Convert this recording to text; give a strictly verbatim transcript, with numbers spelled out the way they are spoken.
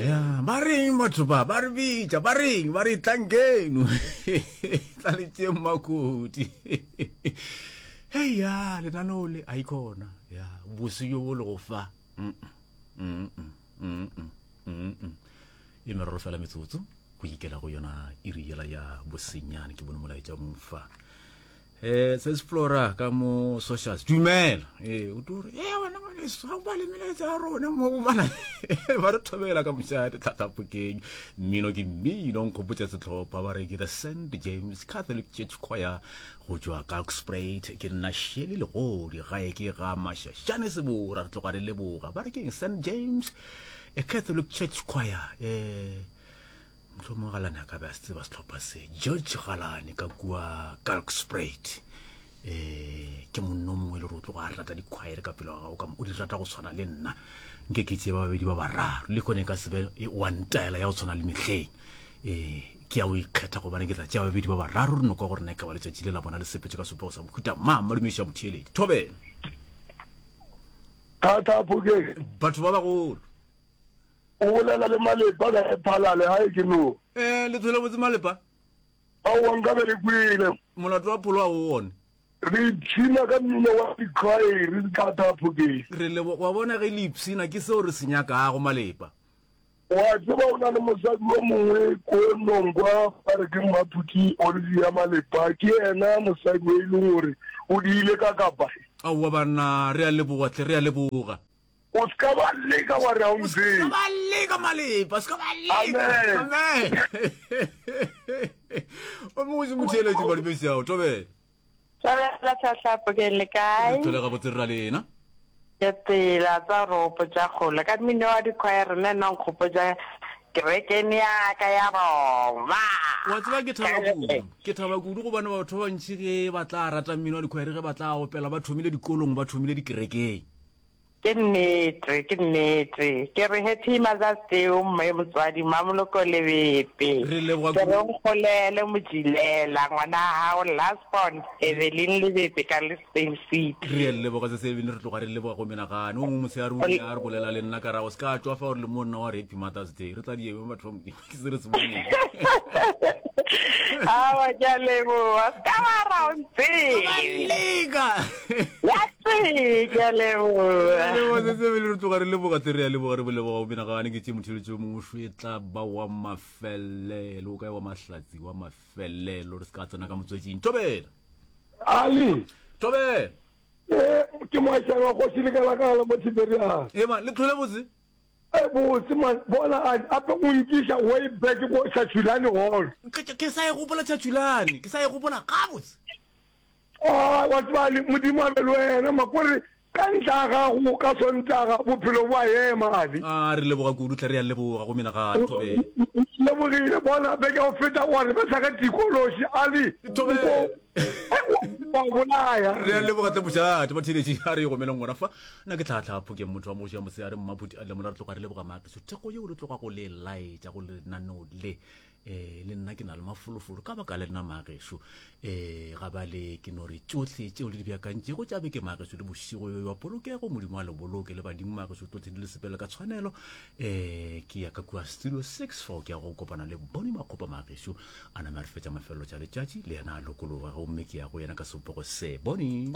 Ya, ba reng batho ba ba re bitša, ba reng ba re tlankeno tla le tšeng makoti. Hei ya, lenaneo le a ikhona ya bose jo bo le go fa. Mm, mm, mm, mm, mm, mm. E meraro fela metsotso go ikela go yona iri yela ya bosenyane. Ke bone molaetša mfa eh se Flora ka mo socials. Dumela. Eh o tore eh wena ngwaneso, ga o bale melaetsa ya rona mo go bana ba re thobela ka mošate tlhatlhapokeng. Mmino ke mmino, nkgopotša setlhopha ba re ke the Saint James Catholic Church Choir go tšwa Kalkspruit. Ke nna Sheli Legodi, gae ke ga Mašašane Sebora. Re tloga re leboga. Ba re keng Saint James a Catholic Church Choir. Eh mohlomongwe Galane a ka be a se tseba setlhopha se, George Galane ka kua Kalkspruit. um ke monno mongwe e le gore o tloga a rata dikhwaere ka pelo ga gago ka o di rata go tshwana le nna. Nke ke tsee ba babedi ba bararo le kone ka sebe wa ntaela ya go tshwana le mehleng. um ke ya o ikgetha gobane ke tla tšea babedi ba bararo re nokwa gore na e ka ba letšatši le la bona le sepetse ka sepego sa mohuta mang. Madumeši a motheeledi thobela. Thata Phokeng. Batho ba bagolo. O bolela le Malepa ka Phalale gae ke no. Eh le thole botse Malepa. Aowa nka be re kwele. Molato wa pholo a o one. Re ipshina ka mmino wa dikhwaere thata Phokeng. Re lebo wa bona ge le ipshina ke seo re se nyakago Malepa. Wa tseba o na le mosadi yo mongwe ko Nongwa ba re ke Mmaphuti Olivia Malepa, ke yena mosadi o e leng gore o diile ka kapa. Aowa banna re a leboga hle, re a leboga. O se ka ba leka wa re ga o ntsebe. O se ka ba leka Malepa, o se ka ba leka. Amen. Amen. O mongwe se motheeletši badumedi ao, tobela. Tobela tlhahlapo ke le kae? Re thole gabotse rra lena. Ke tsela tsa ropo tša kgole ka mmino wa dikhwaere le nna nkgopotša kerekeng ya ka ya Roma. Wa tseba ke thaba kudu, ke thaba kudu gobane batho ba bantši ge ba tla rata mmino wa dikhwaere ge ba tla opela ba thomile dikolong, ba thomile dikerekeng. Ke nnete, ke nnete. Ke re Happy Mother's Day o mme motswadi Mamoloko Lebepe. Re leboga Ke re kudu. o nkgolele Mojilela ngwana wa gago last born Evelyn Lebepe ka Lestain City. Re a leboga se se ebile re tloga re leboga go menagane. O mongwe mosehare o ile a re bolela le nna ka ra o se ka tšwa fa o re le monna wa re Happy Mother's Day. Re tla di eme batho ba Modimo ke se re se boneng. Aowa ke a leboga. Se ka wa ra o ntsebe. Ba leka. Ya tee, ke a leboga. Leboga se se bele re tloga re leboga tle re a leboga re boleboga go menagane ke tše motheletšo mongwe šo e tla ba wa mafelelo o kae wa mahlatsi wa mafelelo re se ka tsena ka motswetšing. Thobela. Ali. Thobela. Eh, ke moašana wa kgoši Lekalakala mo Tiberias. Ema, le tlhole botse. E botse man, bona a ape o nkiša way back ko Chachulane Hall. Ke, ke, ke sa e gopola Chachulane, ke sa e gopola gabotse. Ah, wa tseba Ali, Modimo a be le wena ma, kore ka ntla ga gago ka Sontaga bophelo bo a ema Ali. Ah, re leboga kudu hle, re a leboga go menagane, Thobela. Lebogile, bona beke ya go feta wa re betha ka tikološi Ali. Thobela. Wa bolaya. Re a leboga tle mošate batheeletši, a re e gomeleng gona fa. Nna ke tlhatlha phokeng motho wa moši ya mosehare Mmaphuti a Lemola. Re tloga re leboga maakiso thekgo yeo le tloga go le laetša go lenaneo le. Eh, le nna ke na le mafolofolo ka baka le nna maagešo. Eh, ga ba le ke no re tšohle tšeo le di beakantšego tša beke maagešo le bošego yo wa polokego, Modimo a le boloke le badimo maagešo tlohle di le sepele ka tshwanelo. Eh, ke ya ka kua studio six fao ke ya go kopana le Boni Makgopa maagešo a name a re fetša mafelelo tša letšatši le yena a lokologa, gomme ke ya go yena ka sebopego se. Boni.